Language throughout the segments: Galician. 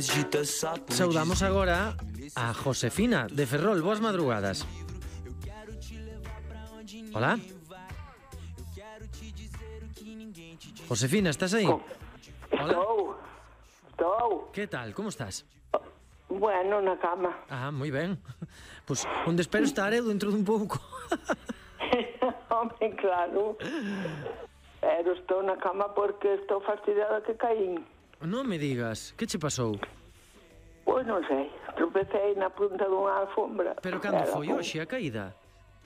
Saudamos agora a Josefina de Ferrol. Boas madrugadas. Hola. Josefina, estás aí? Estou. Que tal? Como estás? Bueno, na cama. Ah, moi ben. Pois onde espero estar eu dentro dun pouco. Hombre, claro. Pero estou na cama porque estou fastidiada que caín. Non me digas, que che pasou? Pois non sei, tropecei na punta dunha alfombra. Pero cando foi hoxe a caída?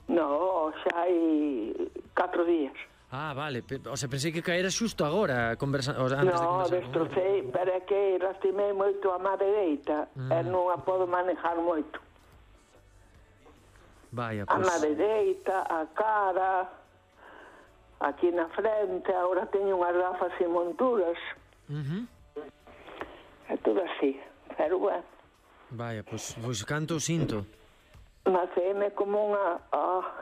No, xa hai 4 días. Ah, vale, o sea, pensei que caera xusto agora, antes de conversar. Destrocei, pero é que lastimei moito a má dereita e non a podo manejar moito. Vaya, A má dereita, a cara, aquí na frente, agora teño unhas gafas sin monturas. É todo así, pero bueno. Vaya, pois canto sinto. Macéme como unha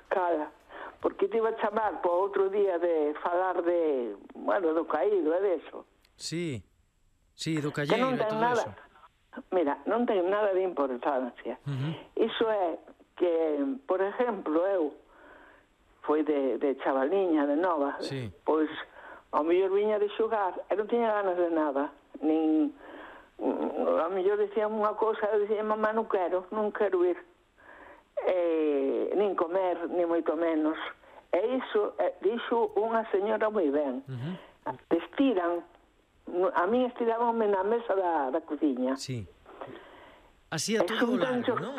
cala, porque te iba a chamar po outro día de falar de, bueno, do caído, é deso. Sí, do calleiro e todo eso. Mira, non ten nada de importancia. Iso é que, por exemplo, eu foi de chavaliña, de nova, pois ao mellor viña de xogar e non tiña ganas de nada, nin ao mellor dicían unha cousa e dicía, mamá, non quero ir, nin comer, nin moito menos. E iso dixo unha señora moi ben. Te estiran, a mí estirábanme na mesa da cociña. Sí. Así a todo o largo, non?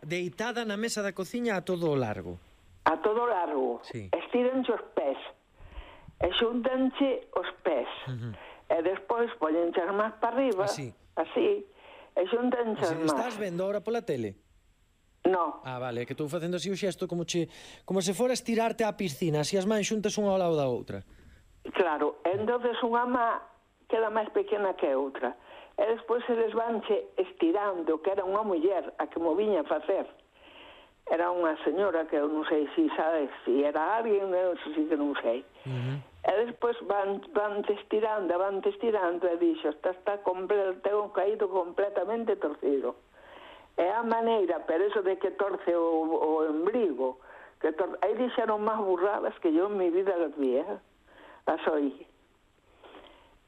Deitada na mesa da cociña a todo o largo. A todo o largo. Estíranche os pés. E xuntanche os pés. E despois pollenche as más para arriba. Así. E xuntanche as más. Estás vendo ahora pola tele? No. Ah, vale, é que estou facendo así o xesto como se fora estirarte á piscina, así as mans xuntas unha ao lado da outra. Claro, entonces unha má queda máis pequena que outra. E despois eles vanche estirando, que era unha muller a que mo viña a facer. Era unha señora que eu non sei se sabes, se era alguén, eu sí que non sei. E despois van estirando e dixo, está completo, caído completamente torcido. É a maneira, pero eso de que torce o embrigo, aí dixeron máis burradas que eu en mi vida las vi, las oí.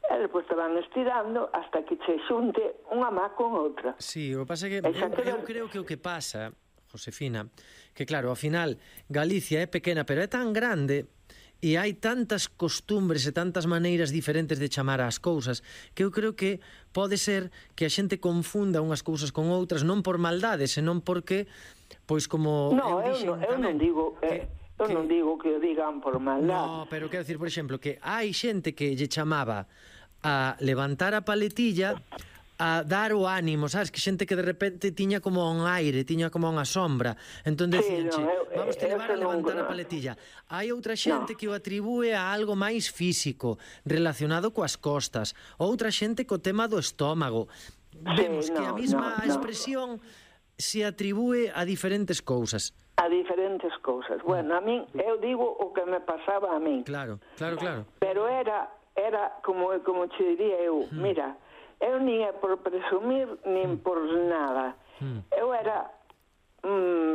E despois te van estirando hasta que che xunte unha má con outra. Sí, o que pasa é que eu creo que o que pasa, Josefina, que claro, ao final Galicia é pequena, pero é tan grande e hai tantas costumbres e tantas maneiras diferentes de chamar ás cousas que eu creo que pode ser que a xente confunda unhas cousas con outras non por maldade, senón porque pois como eu non digo que o digan por maldade. No, pero quero dicir, por exemplo, que hai xente que lle chamaba a levantar a paletilla a dar o ánimo, sabes? Que xente que de repente tiña como un aire, tiña como unha sombra. Entón decíanche, vamos te levar a levantar a paletilla. Hai outra xente que o atribúe a algo máis físico, relacionado coas costas. Outra xente co tema do estómago. Vemos que a mesma expresión se atribúe a diferentes cousas. A diferentes cousas. Bueno, a min, eu digo o que me pasaba a min. Claro. Pero era como che diría eu, mira, eu nin é por presumir, nin por nada. Eu era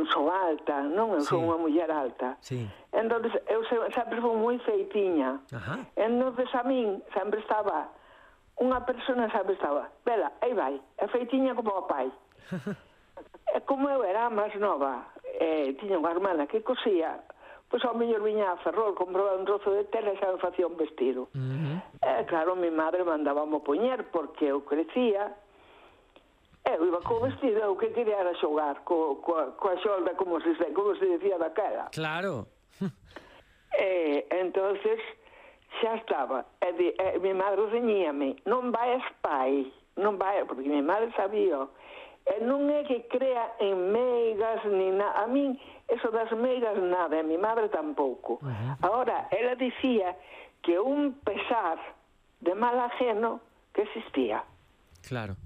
sou alta, non? Eu sou unha muller alta. Entón, eu sempre fui moi feitinha. Entón, a min sempre estaba unha persona vela, aí vai, é feitinha como o pai. E como eu era máis nova, tiña unha hermana que cosía, pois ao mellor viña a Ferrol, compraba un trozo de tela e xa me facía un vestido. Claro, mi madre mandaba-mo poñer porque eu crecía, eu iba co vestido, eu que quería era xogar coa xolda, como se decía daquela. Claro. Entonces xa estaba. Mi madre reñíame, non vai pai, non vai, porque mi madre sabía. Non é que crea en meigas ni nada. A min, eso das meigas nada, a mi madre tampouco. Ahora, ela dicía que un pesar de mal ajeno que existía. Claro.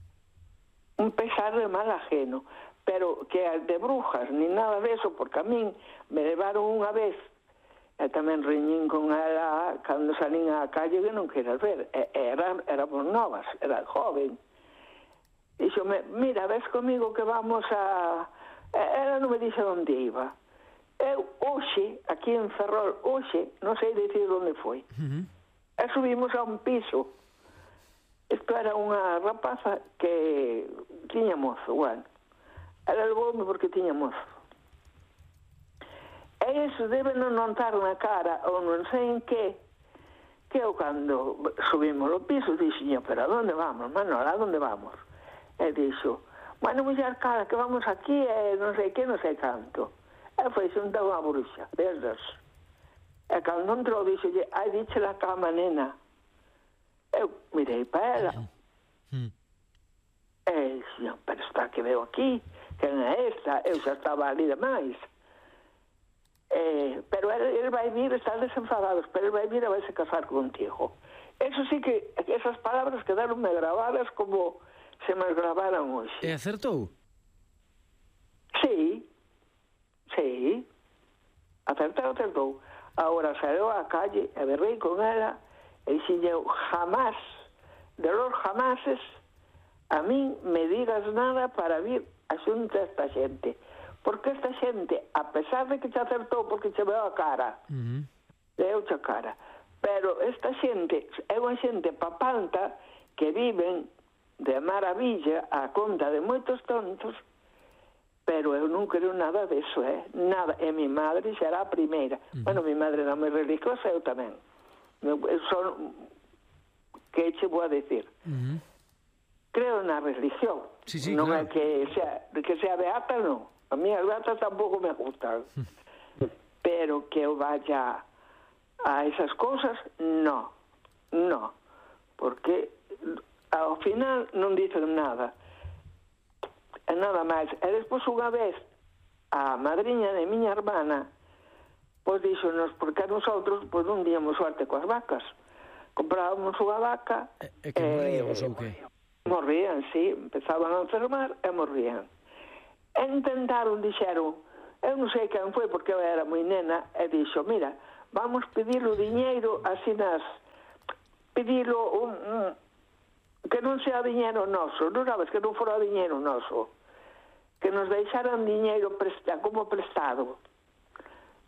Un pesar de mal ajeno. Pero que de brujas, ni nada de eso, porque a min me levaron unha vez, e tamén reñín con ela cando salín á calle que non queras ver. Éramos novas, era joven. díxome, mira, ves comigo que vamos a... Ela non me dixe onde iba. Eu, hoxe, aquí en Ferrol, hoxe, non sei dicir onde foi. E subimos a un piso. Isto era unha rapaza que tiña mozo, bueno. Ela levoume porque tiña mozo. E iso debe non notar na cara, ou non sei en que eu cando subimos ao piso dixo, pero a onde vamos, Manol, a onde vamos? E dixo, bueno, muller, cara, que vamos aquí e non sei que, non sei canto. E foi xunta unha bruxa, desdas. E cando entrou, dixo, ai, diche la cama, nena. Eu mirei para ela. E dixo, pero está que veo aquí, quen é esta? Eu xa estaba ali demais. Pero ele vai vir, están desenfadados, pero ele vai vir e vai se casar contigo. Eso sí que, esas palabras quedaronme gravadas como se me gravaran hoxe. E acertou? Sí. Acertou. Ahora salió a calle e berrei con ela e dixen, jamás, de los jamases, a min me digas nada para vir a xunta esta xente. Porque esta xente, a pesar de que te acertou porque che veo a cara, veo a cara, pero esta xente é unha xente papanta que viven de maravilla a conta de moitos tontos, pero eu non creo nada deso, nada. E mi madre xa era a primeira. Bueno, mi madre era moi religiosa, eu tamén. Eu son, que che vou a decir? Creo na religión. Sí, non claro. é que sea beata, non. A mí as beatas tampouco me gustan. Pero que eu vaya a esas cousas, no. Porque ao final non dicen nada. E nada máis. E despois unha vez a madriña de miña hermana pois díxonos, porque a nosotros pois non díamos suerte coas vacas. Comprábamos unha vaca e que morríamos ou que? Morrían, sí. Empezaban a enfermar e morrían. E intentaron, dixeron, eu non sei quen foi porque eu era moi nena, e dixo, mira, vamos pedir o diñeiro así pedilo que non sea diñeiro noso, non sabes, que non fora diñeiro noso, que nos deixaran diñeiro como prestado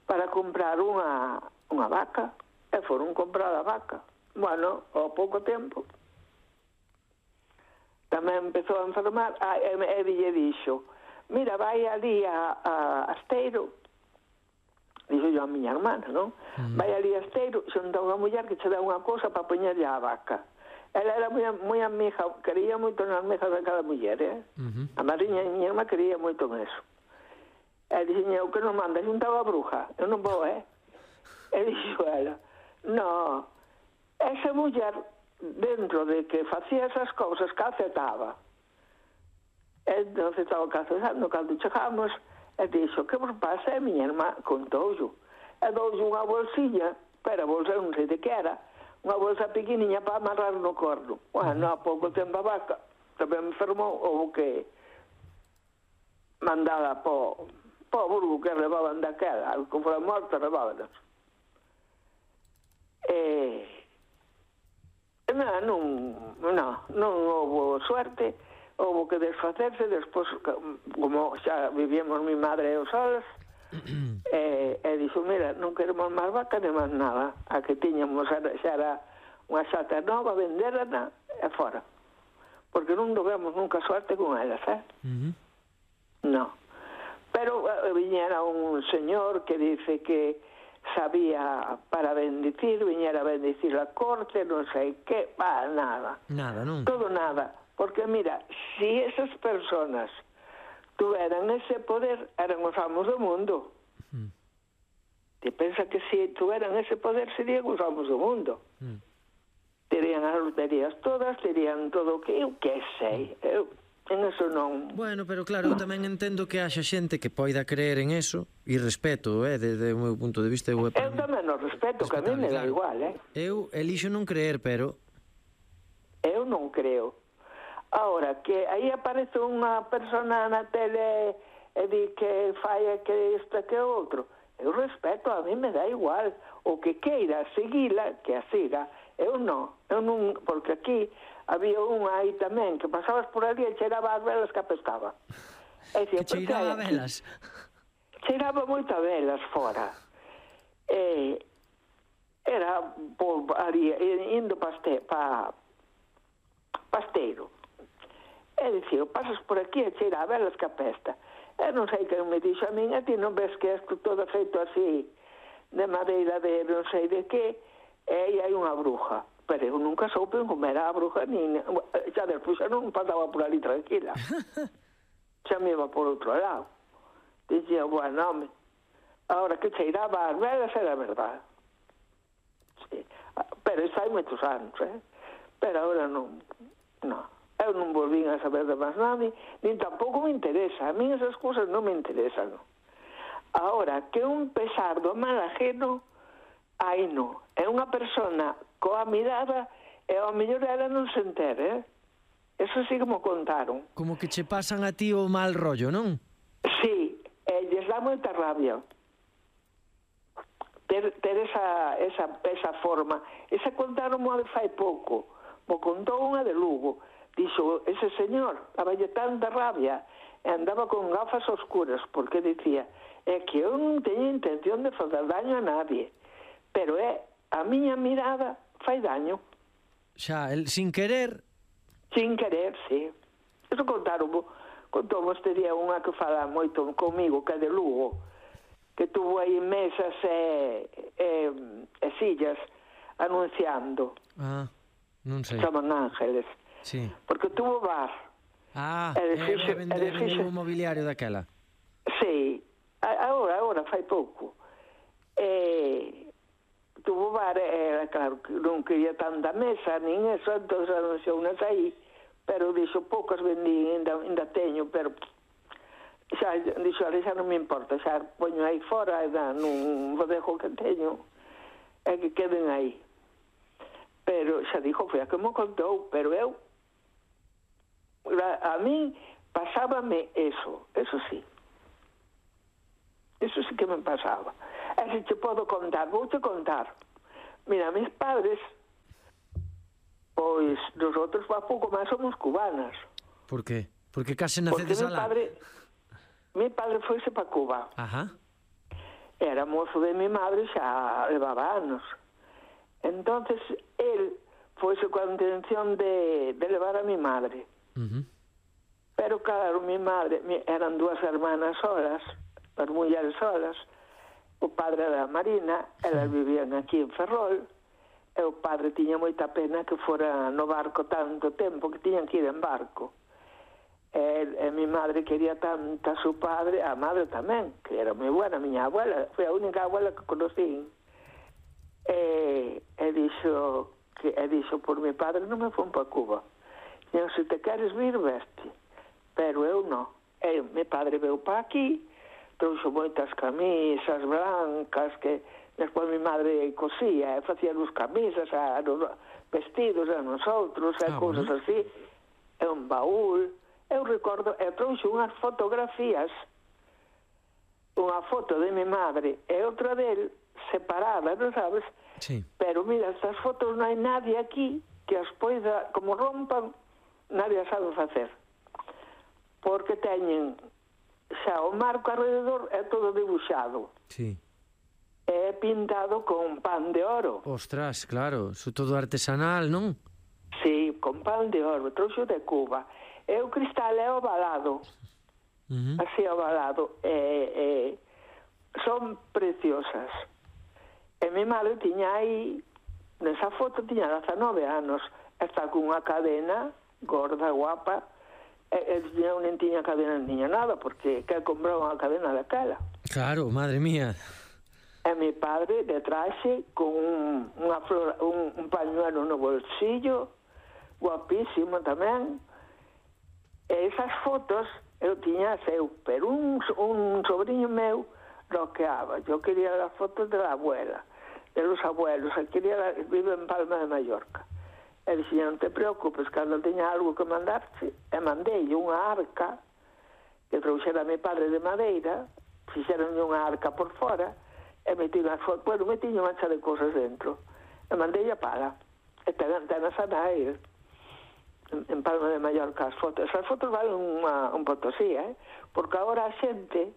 para comprar unha vaca, e foron comprar a vaca. Bueno, ao pouco tempo tamén empezou a enfermar, e dixo, mira, vai ali a Asteiro, dixo yo a miña hermana, non? Vai ali a Asteiro, xunta unha muller que che dá unha cousa para poñerlle a vaca. Ela era moi amiga, quería moito nas mesas de cada muller, A madriña de miña irmá quería moito neso. E dixen, eu que non manda, xunta a bruja, eu non vou, E dixo ela, no, esa muller, dentro de que facía esas cousas, calcetaba. Entón, estaba calcetando, cando chegamos, e dixo, que vos pasa? E miña irmá contou-yo. E doulle unha bolsilla, pero a bolsa non sei de que era, unha bolsa pequeniña para amarrar no corno. Bueno, a pouco tempo a vaca tamén enfermou, houve que mandada po burgo que levaban daquela, que fora morta, levábanos. Non houve suerte, houve que desfacerse. Despois, como xa vivíamos mi madre e os solos, e dixo, mira, non queremos máis vaca nem máis nada. A que tiñamos xa era unha xata nova, venderana e fora, porque non tivemos nunca suerte con elas, no. Pero viñera un señor que dice que sabía para bendicir, viñera a bendicir a corte, non sei que, nada, non? Todo nada, porque mira, si esas personas tuveran ese poder, eran os amos do mundo. Te pensa que si tuveran ese poder, serían os amos do mundo. Terían as loterías todas, terían todo o que eu que sei, en eso non... Bueno, pero claro, eu tamén entendo que haxa xente que poida creer en eso, e respeto, desde o meu punto de vista. Eu tamén o respeto, que a mí me dá igual, Eu elixo non creer, pero... Eu non creo. Ahora, que aí aparece unha persona na tele e di que fai que isto e que outro, eu respeto, a mí me dá igual. O que queira seguila, que a siga, Eu non, porque aquí había unha aí tamén que pasabas por ali e cheiraba as velas que apestaba. Que cheiraba a velas? Cheiraba moito a velas fora. Era por ali, indo pasteiro. E dicía, pasas por aquí e cheira a velas que apesta. E non sei quen me dixo a min, a ti non ves que isto todo feito así, de madeira de non sei de que, e aí hai unha bruja. Pero eu nunca soupen como era a bruja, xa despois xa non pasaba por ali tranquila. Xa me iba por outro lado. Dicía, bueno, home, ahora que cheiraba as velas era verdade. Sí. Pero isso hai moitos anos, Pero agora non. Eu non volvín a saber de máis nada, nin tampouco me interesa. A mí esas cousas non me interesan. Ahora, que un pesar do mal ajeno, aí non. É unha persona coa mirada e ao mellor ela non se entere, Eso sí que me contaron. Como que che pasan a ti o mal rollo, non? Sí, lles dá moita rabia ter esa forma. Esa contaron moi fai pouco. Mo contou unha de Lugo. Dixo, ese señor daballe tanta rabia e andaba con gafas oscuras porque dicía, é que eu non teño intención de fazer daño a nadie, pero a miña mirada fai daño. Xa, sin querer... Sin querer, sí. Eso contou este día unha que fala moito comigo, que é de Lugo, que tuvo aí mesas e sillas anunciando. Ah, non sei. Chaman Ángeles. Sí. Porque tuvo bar. Ah, vendeu o mobiliario daquela. Sí. Agora fai pouco. Tuvo bar, era claro que non quería tanta mesa, nin eso, entón anunciou unas aí, pero dixo, poucas vendí, ainda teño, pero xa, dixo, xa non me importa, xa poño aí fora, non vos dejo que teño, e que queden aí. Pero xa dixo, foi a que me contou, pero eu, a min pasábame eso sí. Eso sí que me pasaba. E se te podo contar, vouche contar. Mira, mis padres, pois, nosotros a pouco máis somos cubanas. Por qué? Porque case nacedes alá. Mi padre foise para Cuba. Ajá. Era mozo de mi madre, xa levaba anos. Entonces, él foise coa intención de levar a mi madre. Pero claro, mi madre, eran dúas hermanas solas, as mulleres solas, o padre era Marina, elas vivían aquí en Ferrol, e o padre tiña moita pena que fora no barco tanto tempo, que tiñan que ir en barco. E mi madre quería tanto a su padre, a madre tamén, que era moi buena, miña abuela, foi a única abuela que conocí. E dixo, por mi padre non me fun para Cuba. Dixo, se te queres vir, veste. Pero eu non. Mi padre veu para aquí, trouxo moitas camisas blancas que despois mi madre cosía e facía nos camisas, vestidos a nosotros, cousas así, e un baúl. Eu recordo, trouxo unhas fotografías, unha foto de mi madre e outra del separada, non sabes? Sí. Pero mira, estas fotos non hai nadie aquí que as poida, como rompan, nadie as sabe facer. Porque teñen xa o marco alrededor é todo dibuixado. Sí. É pintado con pan de oro. Ostras, claro, iso todo artesanal, non? Sí, con pan de oro, trouxo de Cuba. E o cristal é ovalado. Así ovalado. Son preciosas. E mi madre tiña aí, nesa foto tiña 19 anos, está con unha cadena gorda, guapa. Eu non tiña cadena, non tiña nada, porque que compraba unha cadena daquela. Claro, madre mía. E mi padre de traxe con un pañuelo no bolsillo, guapísimo tamén. E esas fotos eu tiña eu, pero un sobrinho meu roqueaba. Eu quería as fotos de la abuela, de los abuelos, vive en Palma de Mallorca. E dixen, non te preocupes, cando teña algo que mandarte, e mandei unha arca que trouxera a mi padre de madeira, fixeron unha arca por fora, e metí unhas fotos, bueno, metí unha mancha de cosas dentro, e mandei a pala. e ten a Sanai en Palma de Mallorca as fotos. Esas fotos valen un potosí, porque agora a xente,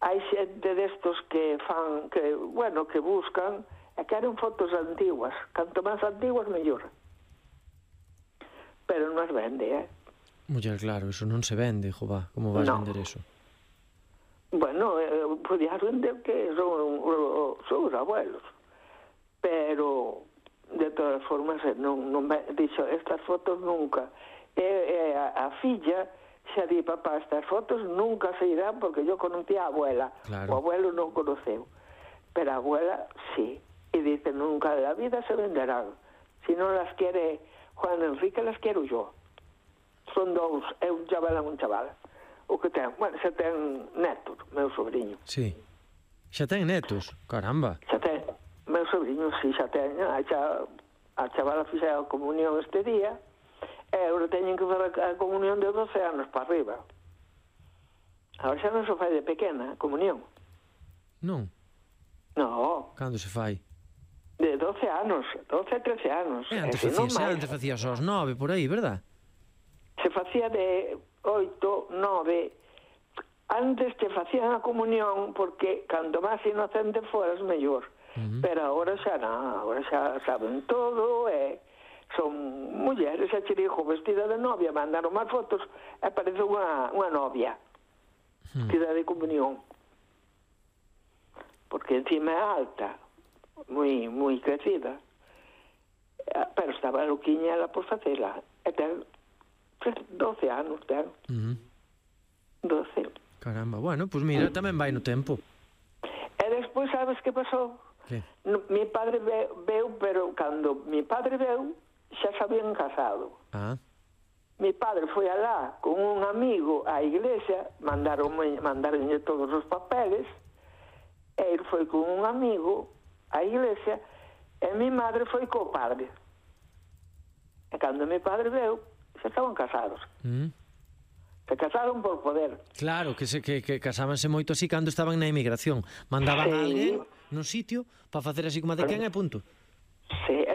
hai xente destos que fan, que buscan e queren fotos antiguas. Canto máis antiguas, mellor. Pero non as vende, Muller, claro, eso non se vende, jová. Como vas vender eso? Bueno, podías vender que son os abuelos. Pero de todas formas non dixo estas fotos nunca, e a filla xa di, papá, estas fotos nunca se irán porque yo conocí a abuela, o abuelo non conoceu, pero a abuela sí, e dice, nunca de la vida se venderán, si non las quiere Juan Enrique, las quero yo. Son dous, é un chaval e un chaval, o que ten, bueno, xa ten netos, meu sobrinho. Sí, xa ten netos, caramba. Xa ten. Meu sobrinho, si, xa teño, a chavala fixe a comunión este día, e agora teñen que fazer a comunión de 12 anos para arriba. Agora xa non se fai de pequena, a comunión. Non? No. Cando se fai? De 12 anos, 12 13 anos. Antes facías aos 9, por aí, verdad? Se facía de 8, 9. Antes te facían a comunión porque cando máis inocente foras mellor. Pero agora xa non, agora xa saben todo, son mulleres, xa che dixo, vestida de novia, mandaron máis fotos e parece unha novia vestida de comunión, porque encima é alta, moi crecida, pero estaba loquiña ela por facela, e ten 12 anos, ten 12. Caramba, bueno, pues mira, tamén vai no tempo. E despois sabes que pasou? Que? Mi padre veu, pero cando mi padre veu, xa se habían casado. Mi padre foi alá con un amigo á iglesia, mandaronlle todos os papeles, e ele foi con un amigo á iglesia, e mi madre foi co padre. E cando mi padre veu, xa estaban casados. Se casaron por poder. Claro, que casábanse moito así cando estaban na emigración. Mandaban a alguén no sitio para facer así como de quen e punto. Sí, e